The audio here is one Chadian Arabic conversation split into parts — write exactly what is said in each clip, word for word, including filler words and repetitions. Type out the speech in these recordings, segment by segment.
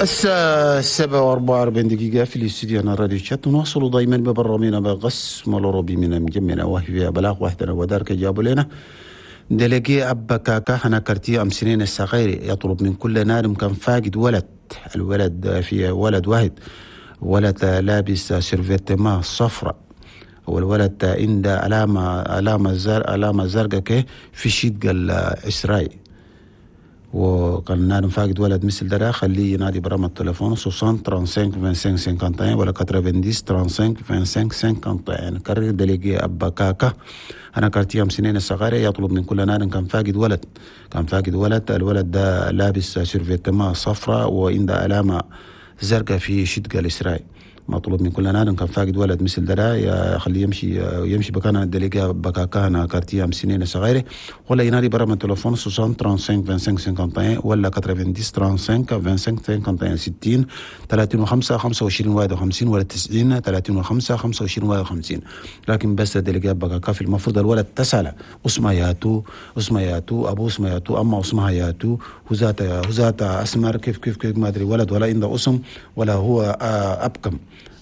الساعة سبعة وأربعة وأربعين دقيقة في الاستوديو هنا راديو تشاد. نواصل دائما ببرنامجنا بقسم الأوروبي من مجمنا، وهي بلاغ واحدة ودارك جابوا لنا délégué أبا كاكا هنا quartier أم سنين الصغير يطلب من كل نادم كان فاقد ولد، الولد في ولد واحد، ولد لابس survêtement صفراء، والولد عنده علامة علامة زر علامة زرقاء كي في شدق الإسرائيل. وكان نادم فاقد ولد مثل ده خليه ينادي برقم التليفون ستين خمسة وثلاثين خمسة وعشرين واحد وخمسين ولا تسعين خمسة وثلاثين خمسة وعشرين واحد وخمسين. كرر، délégué أبا كاكا هنا quartier أم سنين الصغيرة يطلب من كل نادم كان فاقد ولد، كان فاقد ولد، الولد ده لابس survêtement صفراء وعنده علامة زرقاء في شدق الإسرائيل. مطلوب من كل نادم كان فاقد ولد مثل ده خليه يمشي يمشي بكان délégué بكاكا هنا quartier أم سنين الصغيرة، ولا ينادي برقم التليفون ستين خمسة وثلاثين خمسة وعشرين واحد وخمسين ولا تسعين خمسة وثلاثين خمسة وعشرين واحد وخمسين، ستين خمسة وثلاثين خمسة وعشرين واحد وخمسين ولا تسعين خمسة وثلاثين خمسة وعشرين واحد وخمسين. لكن بس délégué بكاكا في المفروض الولد تسأل اسمه ياتو، اسمه ياتو، ابو اسمه ياتو، اما اسمها ياتو، هو ذات هو ذات اسمر كيف كيف كيف ما ادري، ولد ولا عنده اسم ولا هو ابكم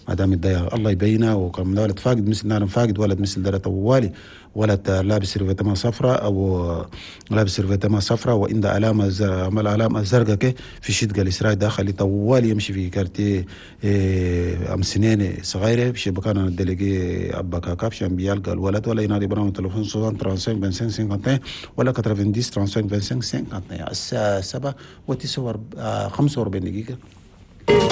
ما دام الضياء الله يبينه. وكم ولد فاقد مثل نار فاقد ولد مثل ده طوالي، ولد لابس survêtement صفراء او لابس survêtement صفراء وعنده علامة عمل علامة زرقاء كي في شدقه الاسرائيل داخل طوالي يمشي في quartier إيه ام سنين صغيرة في بكان ال délégué ابا كاكا عشان بيلقى الولد، ولا ينادي برقم التليفون خمسة وخمسين خمسة وعشرين واحد وخمسين ولا تسعين خمسة وثلاثين خمسة وعشرين واحد وخمسين. الساعة سبعة وخمسة وأربعين دقيقه.